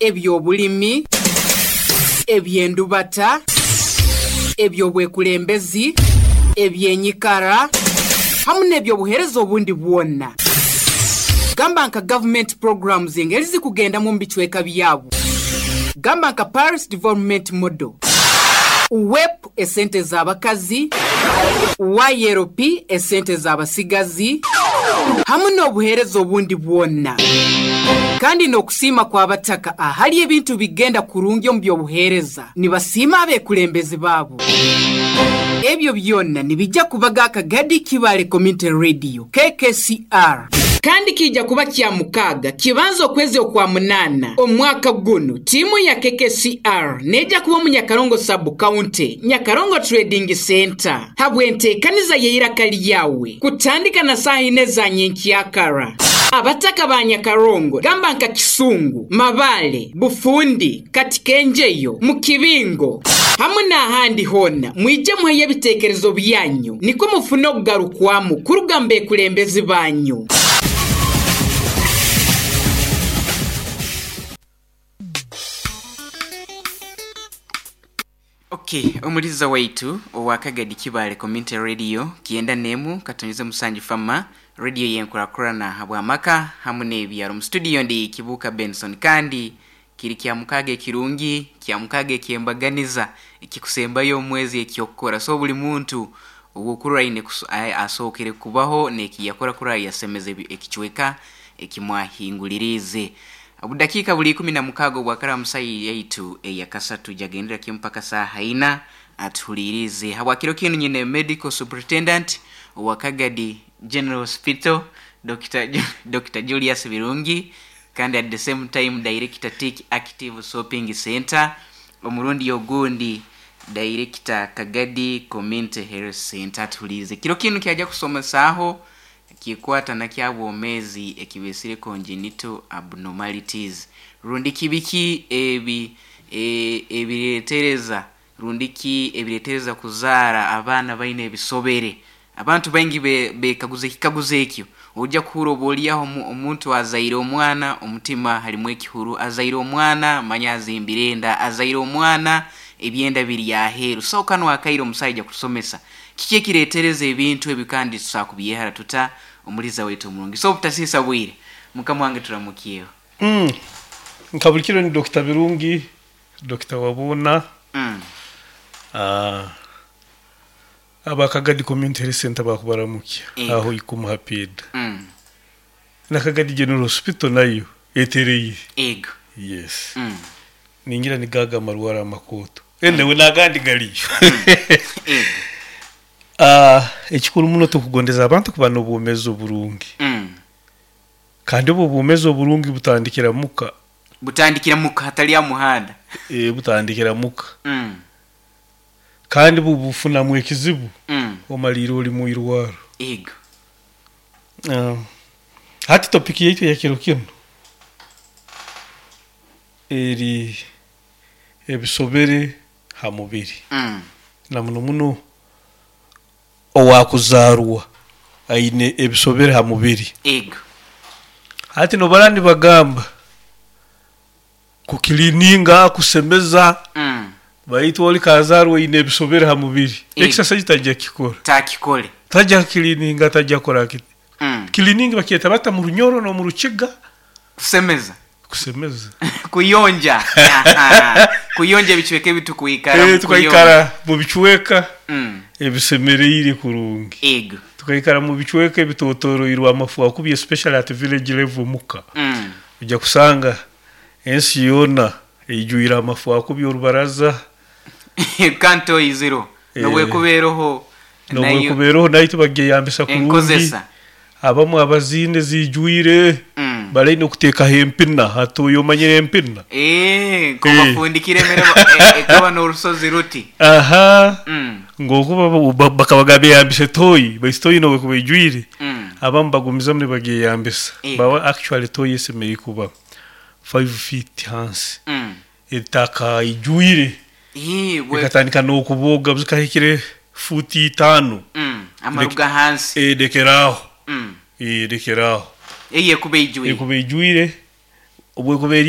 Eby'obulimi, eby'endubata, eby'obwekulembezi, eby'enyikara hamu n'eby'obuheereza obundi bwona. Gamba nka gavumenti programs engeri zikugendamu omu bicweka byabo. Gamba nka Parish Development Model, WEP esente z'abakazi, YLP esente z'abasigazi hamu n'obuheereza obundi bwona. Kandi n'okusiima kw'abataka ahali ebintu bigenda kurungi omu by'obuheereza nibasiima abekulembezi baabo. Ebyo byona nibijja kubaga Akagadi Kibaale Community Radio, KKCR. Kandi kiija kuba Kyamukaaga kibanza okwezi Okwamunaana omwaka gunu. Tiimu ya KKCR neija kuba omu Nyakarongo Sub-County, Nyakarongo Trading Centre habw'enteekaniza y'eiraka lyawe kutandika na saaha ina eza nyenkyakara. Abataka ba Nyakarongo gamba nka Kisungu, Mabaale, Bufundi, Katikenjeyo, mu kibingo hamu n'ahandi hoona, mwije muheyo ebiteekerezo byanyu nikwo mufune okugarukwamu kuruga mu bekulembezi banyu. Ok, omuliza waitu owa Kagadi Kibaale Community Radio kyenda n'emu katonyeze musanju fama radio y'enkurakurana habw'amaka hamu n'ebyaro. Mu studio ndi Kibuuka Benson kandi kiri Kyamukaaga ekirungi, Kyamukaaga eky'embaganiza ekikusembayo omu mwezi eky'okukora. So buli muntu ow'okurora aine asookere kubaho n'ekiyakora kurora yasemeza ekicweka ekimwahinguliriize. Obudakiika buli 16 obwakara musayi yaitu eyakasatu jagendera kimu mpaka saaha ina atuhuliirize. Habwa kiro kinu nyine medical superintendent owa Kagadi General Hospital Dr. Julius Birungi kandi at the same time director Tick Active Shopping Center, omurundi ogundi director Kagadi Community Health Center atuhuliirize. Kiro kinu kyaja kusomesaaho kikwata na kyabwomezi ekibesire congenital abnormalities rundi kibiki ebi ebiretereza rundi ki ebiretereza kuzaara abaana baine ebisobere. Abantu baingi bekaguza ekikaguzo ekyo. Ojja kuhura oba oliaho omuntu azaire omwana omutima halimu ekihuru, azaire omwana manya azimbire enda, azaire omwana ebyenda biri aheeru. So kano akaire omusaija kutusomesa kiki ekiretereza ebintu ebi kandi tusobola kubyehara tuta omuliza waitu omurungi. So obutasiisa bwire mukama wange turamukyeho. Nka buli kiro ni Dr. Birungi, Dr. Wabuna. Aba Kagadi Community Health Center bakubaramukya aho ikumuhapida. Na Kagadi General Hospital nayo etereye. Ego. Yes. Ningira ni gaga marwara makoto. Enewe nagandi galiyo. Ego. Ekikuru muno tukugondeza abantu kuba n'obwomeezi oburungi. Kandi obwo obwomeezi oburungi butandikira muka. Butandikira muka hatali ya muhanda. Butandikira muka. Kandi bufunamu ekizibu. Omalire oli mu irwaro. Ego. Hati topiki yaitu ya kiro kino eri ebisobere ha mubiri. Na muno muno owakuzarwa aine ebisobere ha mubiri. Ego. Hati nobara nibagamba kukilininga kusemeza. Baitu oli kazarwa aine ebisobere ha mubiri. Exercise tajja kikora. Takikole. Tajja kilininga tajja kora kiti. Kilininga bakyeta bata mu runyoro no mu rukiga. Kusemeza. Kusemeza. Kuyonja. Kuyonja ebicweka ebi tukuikara. Tukaikara mu bicweka ebisemereire kurungi. Ego. Tukaikara mu bicweka ebitotoroirwe amafu akubye especially at village level muka. Ujja kusanga ensi yona eijuira amafu akubye orubaraza. Kanto iziro. Nobwekubeeroho. Nobwekubeeroho nayo tubageyambisa kurungi. Enkozesa. Abamu abazine zijuire. Balaine okuteekaho empina hati omanyire empina. Nkobafundikire emere ekaba n'orusozi ruti. Aha. Ng'okuba bakabaga beyambisa toyi, baitu toyi nobwekuba ejwire. Abamu bagumizamu nibageyambisa. Bawa actually toyi esemeriire kuba 5 feet hansi. Ettaka ijwire. Ekatandika n'okuboga zikahikire futi 5. Amaruga hansi. Lekeraho. Lekeraho. Eye kuba ijwire. Ekuba ijwire. Obwekuba eri